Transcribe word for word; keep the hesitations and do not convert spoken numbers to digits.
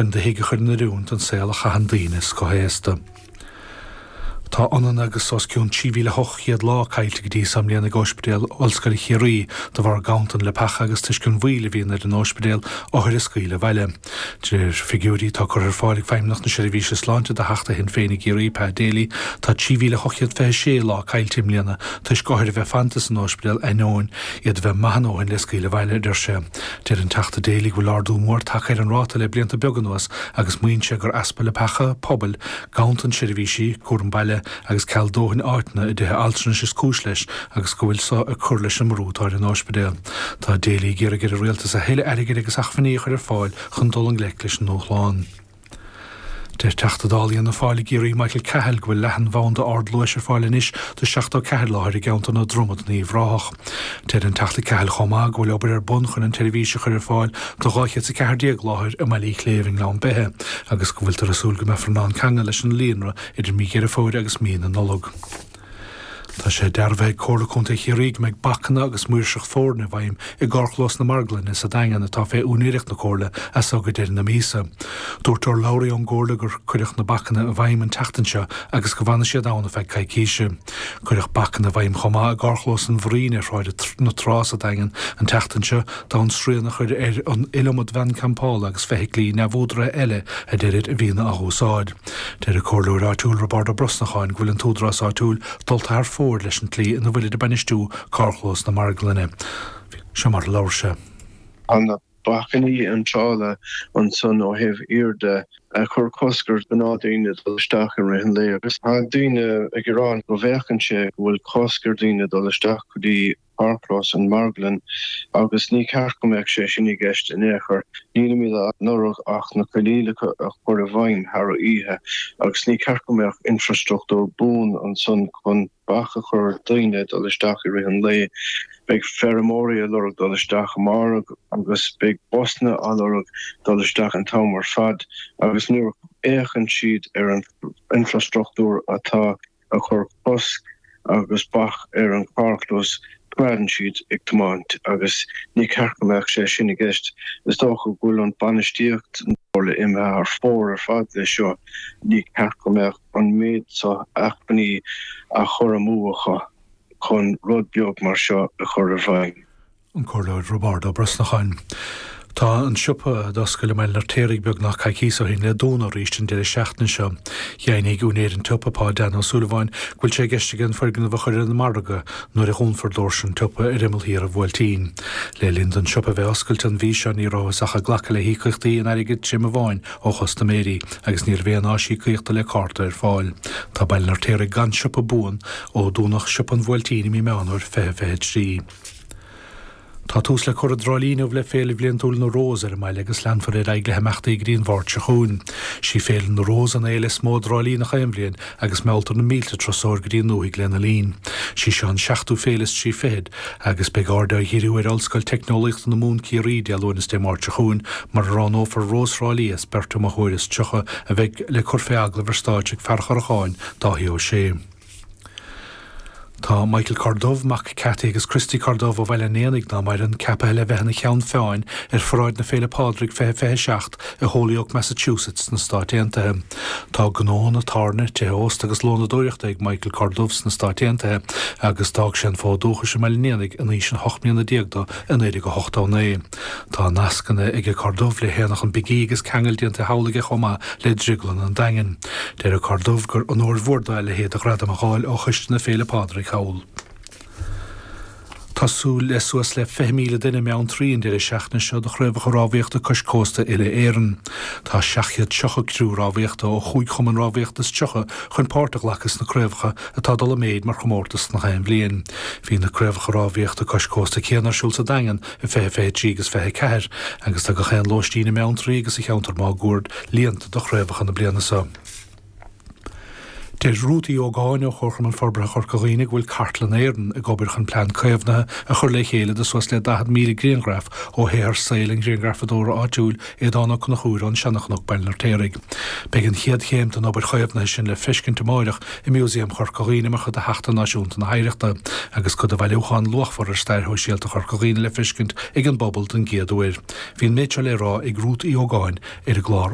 chun do thigh a chur in oiriúint don saol a chaitheann daoine scothaosta. Tá ionann agus os cionn trí mhíle ocht gcéad lá caillte go dtí seo i mbliana ag Ospidéal Ollscoile Chiarraí de bharr ganntan leapacha agus toisc an mhoill a bhíonn ar an ospidéal othair a scaoileadh abhaile. De réir figiúirí atá curtha ar fáil ag Feidhmeannacht na Seirbhíse Sláinte do Theachta Shinn Féin i gCiarraí, Pat Daly, tá trí mhíle ocht gcéad fiche sé lá caillte i mbliana toisc othair a bheith fanta san ospidéal ainneoin iad a bheith maith a ndóthain le scaoileadh abhaile, a deir sé. Deir an Teachta Daly go bhfuil ardú mór tagtha ar an ráta le blianta beaga anuas agus maíonn sé gur easpa leapacha pobail, ganntan seirbhísí cúram baile agus ceal dóthain áiteanna i dtithe altranais is cúis leis agus go bhfuil so ag cur leis an mbrú atá ar an ospidéal. Tá Daly ag iarraidh ar an rialtas a thuilleadh airgid agus acmhainní a chur ar fáil chun dul i ngleic leis an ndúshlán. Deir Teachta Dála Fhianna Fáil i gCiarraí Michael Cahill go bhfuil leathanbhanda ardluais ar fáil anois do seachtó ceathair láthair i gceantar na Dromad in Uíbh Ráthach. Deir an Teachta Cahill chomh maith go bhfuil obair ar bun chun an tseirbhís a chur ar fáil do dhá chéad is a ceathair déag láthair i mBaile Uí Chléibh i nGleann Beithe agus go bhfuiltear ag súil go mbeifear in ann ceangal leis an líonra idir mí Dheireadh Fómhair agus mí na Nollag. Tá sé dearbhaithe ag Comhairle Contae Chiarraí go mbeidh bacanna agus maoirseacht foirne i bhfeidhm i gcarrchlós na Marglainne sa Daingean atá fé úinéireacht na Comhairle as so go deireadh na míosa. Dúirt urlabhraí ón gComhairle gur cuireadh na bacanna i bhfeidhm an tseachtain seo agus go bhfanfaidh siad ann ar feadh coicíse. Cuireadh bacanna i bhfeidhm chomh maith i gcarrchlós an Bhraoin ar Shráid na Trá sa Daingean an tseachtain seo d'fhonn srian a chur ar an iliomad veain campála agus feithiclí neamhúdaraithe eile a deirid a bhíonn á úsáid. Deir an comhairleoir áitiúil Roibeárd Ó Brosnacháin go bhfuil an t-údarás áitiúil dulta thar fóir leis an tslí ina bhfuilid ag bainistiú carrchlós na Marglainne. Seo mar a labhair sé. Tá na bacainní iontrála ansan ó thaobh thiar de ag cur cosc ar ghnáthdhaoine dul isteach i rith an lae agus tá daoine ag gearán go bhféachann sé go bhfuil cosc ar dhaoine dul isteach go dtí carrchlós an Marglann agus ní ceart go mbeadh sé sin i gceist in aon chor. Nílimid á lorg ach na coinníollacha a chur i bhfeidhm thar oíche agus ní ceart go mbeadh infrastruchtúr buan ansan chun bac a chur ar dhaoine dul isteach i rith an lae. Beidh feirmeoirí ag lorg dul isteach amárach agus beidh busanna á lorg dul isteach an t-am ar fad agus nuair a fhéachann siad ar an infrastruchtúr atá ag cur cosc agus bac ar an charrchlós, coimeádann siad ag tiomáint agus ní ceart go mbeadh sé sin i gceist. Is dócha go bhfuil an bainistíocht na Comhairle imithe thar fóir ar fad leis seo. Ní ceart go mbeadh an méid seo acmhainní á chur amú acu chun rud beag mar seo a chur i bhfeidhm. An Comhairleoir Roibeárd Ó Brosnacháin. Tá an siopa a d'oscail i mBaile an Fheirtéaraigh beagnach coicís ó shin le dúnadh arís an deireadh seachtaine seo. Dheimhnigh úinéir an tsiopa, Pa Dan Ó Súilleabháin, go bhfuil sé i gceist aige an foirgneamh a chur ar an margadh nuair a dhúnfar doirse an tsiopa ar imeall thiar an Bhuailtín. Le linn don siopa bheith oscailte an mhí seo ní rabhthas ach ag glacadh le híocaíochtaí in airgead tirim amháin ó chustaiméirí agus ní raibh aon áis íocaíochta le cárta ar fáil. Tá Baile an Fheirtéaraigh gan siopa buan ó dúnadh siopa an Bhuailtín i mí Meán Fómhair fiche fiche trí. Tá tús le cur i dTrá Lí inniu le Féile Bhliantúil na Rós ar an mbaile agus leanfar ar aghaidh le himeachtaí go dtí an Mháirt seo chugainn. Sí Féile na Rós an fhéile is mó i dTrá Lí gach aon bhliain agus mealltar na mílte turasóir go dtí an ndúthaigh lena linn. Sí seo an seachtú féile is trí fichead agus beidh aird á dhíriú ar Ollscoil Teicneolaíochta na Mumhan Ciarraí Dé Luain is Dé Máirt seo chugainn mar a roghnófar Rós Thrá Lí as beirt iomaitheoir is tríocha a bheidh le cur fé agallamh ar stáitse ag fear an Chorracháin, Dáithí Ó Sé. Tá Michael Corduff, mac Cathy agus Christy Corduff ó Bhaile an Éanaigh ná maireann, ceaptha le bheith ina cheann feadhain ar Pharáid na Féile Pádraig fiche fiche seacht i Holyoke, Massachusetts sna Stáit Aontaithe. Tá gnóanna tábhairne, tithe ósta agus lónadóireachta ag Michael Corduff sna Stáit Aontaithe agus d'fhág sé an fód dúchais i mBaile an Éanaigh in aois an hocht mbliana déag dó i naoi déag a hochtó naoi. Tá nascanna ag Corduff le hAonach an Big E agus ceangal déanta thall aige chomh maith le Drioglann an Daingin. Deir Corduff gur onóir mhór dó a leithéid de ghradam a fháil ó Choiste na Féile Pádraig thall. Tá súil le suas le fiche míle duine i mBeanntraí an deireadh seachtaine seo do Chraobhacha Rámhaíochta Cois Cósta Uile-Éireann. Tá seacht gcéad tríocha criú rámhaíochta ó chúig chumann rámhaíochta is tríocha chun páirt a ghlacadh sna craobhacha atá ag dul i méid mar chomórtas gach aon bhliain. Bhí na Craobhacha Rámhaíochta Cois Cósta céanna ar siúl sa Daingean i fiche fiche trí agus fiche ceathair agus tá gach aon lóistín i mBeanntraí agus sa cheantar máguaird líonta do chraobhacha na bliana seo. Deir Ruth Uí Ógáin ó Chomharchumann Forbartha Chorca Dhuibhne go bhfuil Cartlann Éireann ag obair chun plean caomhnaithe a chur le chéile do suas le daichead míle grianghraf ó shaothar saoil an ghrianghrafadóra áitiúil Aodán Ó Conchúir ón Seanchnoc, Baile an Fheirtéaraigh. Beidh an chéad chéim den obair chaomhnaithe sin le feiscint amáireach i Músaem Chorca Dhuibhne mar chuid de Sheachtain Náisiúnta na hOidhreachta agus cuid de bhailiúchán luachmhar ar stair shóisialta Chorca Dhuibhne le feiscint ag an bpobal den gcéad uair. Bhí an méid seo le rá ag Ruth Uí Ógáin ar an gclár.